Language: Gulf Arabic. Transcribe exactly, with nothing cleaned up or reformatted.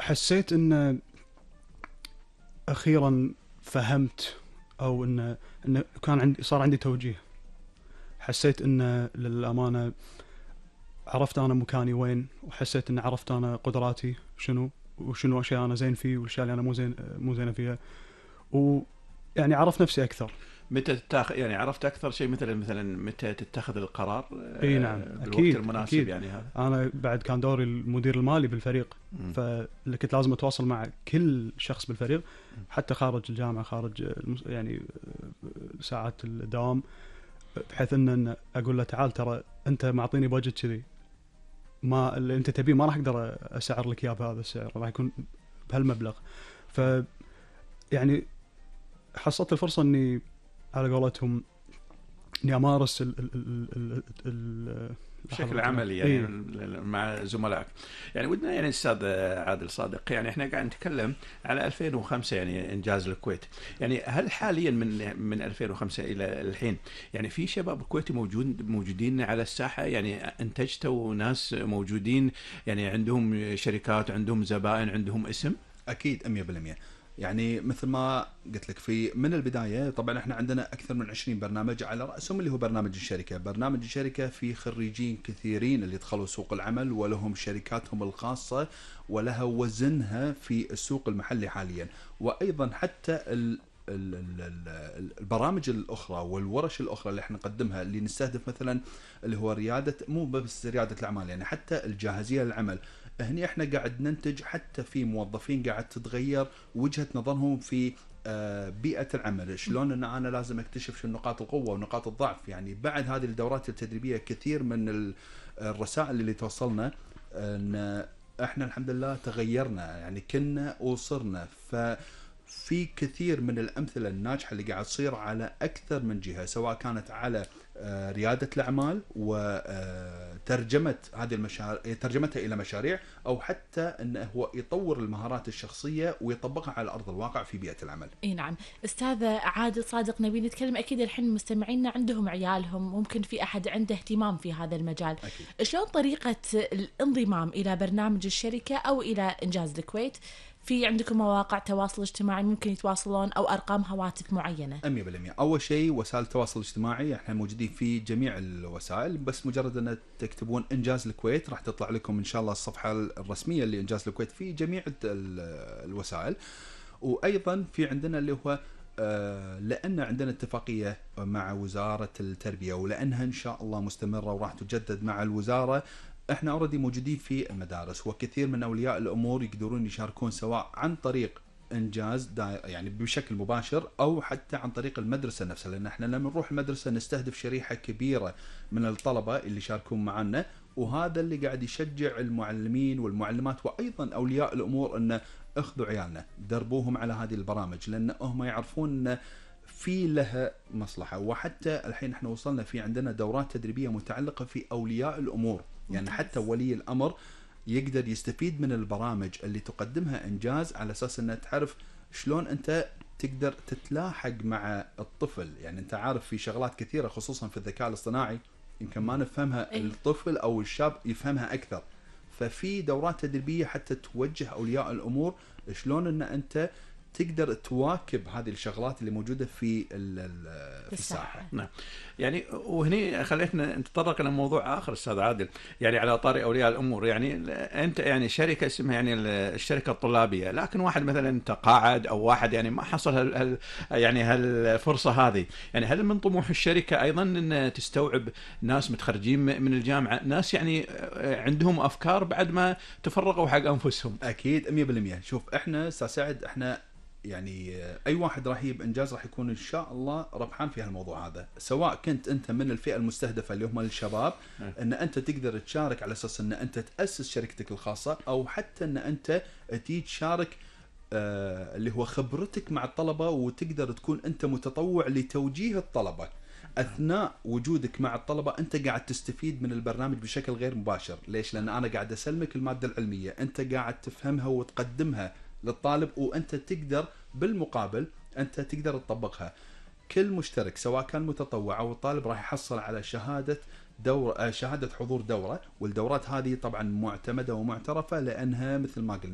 حسيت ان اخيرا فهمت او ان ان كان عندي صار عندي توجيه. حسيت ان للامانه عرفت انا مكاني وين، وحسيت ان عرفت انا قدراتي شنو وشنو اشياء انا زين فيه والاشياء اللي انا مو زين مو زينه فيها، ويعني عرفت نفسي اكثر. متى تتاخذ يعني عرفت اكثر شيء مثلا مثلا متى تتخذ القرار اي نعم بالوقت اكيد المناسب أكيد. يعني هذا انا بعد كان دوري المدير المالي بالفريق، م. فاللي كنت لازم اتواصل مع كل شخص بالفريق حتى خارج الجامعه، خارج يعني ساعات الدوام، بحيث ان اقول له تعال ترى انت معطيني بادجت كذي، ما اللي انت تبيه ما راح اقدر اسعر لك اياه بهذا السعر، راح يكون بهالمبلغ. ف يعني حصلت الفرصه اني على قولتهم اني امارس ال ال ال ال بشكل عملي يعني إيه؟ مع زملائك. يعني ودنا يعني استاذ عادل صادق، يعني احنا قاعد نتكلم على ألفين وخمسة يعني انجاز الكويت، يعني هل حاليا من من ألفين وخمسة الى الحين يعني في شباب كويتي موجود موجودين على الساحه، يعني انتجتوا ناس موجودين يعني عندهم شركات، عندهم زبائن، عندهم اسم؟ اكيد مية بالمية. يعني مثل ما قلت لك في من البداية، طبعا احنا عندنا أكثر من عشرين برنامج على رأسهم اللي هو برنامج الشركة. برنامج الشركة في خريجين كثيرين اللي دخلوا سوق العمل ولهم شركاتهم الخاصة ولها وزنها في السوق المحلي حاليا. وأيضا حتى ال البرامج الأخرى والورش الأخرى اللي احنا نقدمها اللي نستهدف مثلا اللي هو ريادة، مو بس ريادة الأعمال، يعني حتى الجاهزية للعمل. هني احنا قاعد ننتج حتى في موظفين قاعد تتغير وجهة نظرهم في بيئة العمل، شلون ان انا لازم اكتشف شو نقاط القوة ونقاط الضعف. يعني بعد هذه الدورات التدريبية كثير من الرسائل اللي توصلنا ان احنا الحمد لله تغيرنا، يعني كنا وصرنا. ففي كثير من الامثلة الناجحة اللي قاعد تصير على اكثر من جهة، سواء كانت على ريادة الأعمال وترجمة هذه المشاريع، ترجمتها إلى مشاريع، أو حتى أنه هو يطور المهارات الشخصية ويطبقها على أرض الواقع في بيئة العمل. إيه نعم. أستاذ عادل صادق، نبي نتكلم أكيد الحين مستمعينا عندهم عيالهم، ممكن في أحد عنده اهتمام في هذا المجال. أكيد. شلون طريقة الانضمام إلى برنامج الشركة أو إلى إنجاز الكويت؟ في عندكم مواقع تواصل اجتماعي ممكن يتواصلون أو أرقام هواتف معينة؟ مية بالمية. أول شيء وسائل التواصل الاجتماعي، احنا موجودين في جميع الوسائل، بس مجرد أن تكتبون إنجاز الكويت راح تطلع لكم إن شاء الله الصفحة الرسمية لإنجاز الكويت في جميع الوسائل. وأيضا في عندنا اللي هو لأن عندنا اتفاقية مع وزارة التربية، ولأنها إن شاء الله مستمرة وراح تجدد مع الوزارة، احنا اوريدي موجودين في المدارس، وكثير من اولياء الامور يقدرون يشاركون سواء عن طريق انجاز يعني بشكل مباشر او حتى عن طريق المدرسه نفسها، لان احنا لما نروح المدرسه نستهدف شريحه كبيره من الطلبه اللي يشاركون معنا، وهذا اللي قاعد يشجع المعلمين والمعلمات وايضا اولياء الامور ان اخذوا عيالنا دربوهم على هذه البرامج، لان هم يعرفون ان في لها مصلحه. وحتى الحين احنا وصلنا في عندنا دورات تدريبيه متعلقه في اولياء الامور، يعني حتى ولي الأمر يقدر يستفيد من البرامج اللي تقدمها إنجاز، على أساس أنه تعرف شلون أنت تقدر تتلاحق مع الطفل. يعني أنت عارف في شغلات كثيرة خصوصا في الذكاء الاصطناعي يمكن ما نفهمها، الطفل أو الشاب يفهمها أكثر. ففي دورات تدريبية حتى توجه أولياء الأمور شلون أن أنت تقدر تواكب هذه الشغلات اللي موجودة في في الساحة. نعم. يعني وهني خليتنا نتطرق إلى موضوع آخر أستاذ عادل، يعني على طاري أولياء الأمور. يعني أنت يعني شركة اسمها يعني الشركة الطلابية، لكن واحد مثلا تقاعد أو واحد يعني ما حصل هال هال يعني هالفرصة هذه، يعني هل من طموح الشركة أيضا أن تستوعب ناس متخرجين من الجامعة، ناس يعني عندهم أفكار بعد ما تفرغوا حق أنفسهم؟ أكيد مية بالمية. شوف إحنا أستاذ سعد، إحنا يعني أي واحد راح يجيب إنجاز راح يكون إن شاء الله ربحان في هالموضوع هذا، سواء كنت أنت من الفئة المستهدفة اللي هم الشباب، أن أنت تقدر تشارك على أساس أن أنت تأسس شركتك الخاصة، أو حتى أن أنت تيجي تشارك آه اللي هو خبرتك مع الطلبة، وتقدر تكون أنت متطوع لتوجيه الطلبة. أثناء وجودك مع الطلبة أنت قاعد تستفيد من البرنامج بشكل غير مباشر. ليش؟ لأن أنا قاعد أسلمك المادة العلمية، أنت قاعد تفهمها وتقدمها للطالب، وأنت تقدر بالمقابل أنت تقدر تطبقها. كل مشترك سواء كان متطوع أو الطالب راح يحصل على شهادة دورة، شهادة حضور دورة، والدورات هذه طبعا معتمدة ومعترفة لأنها مثل ما قلنا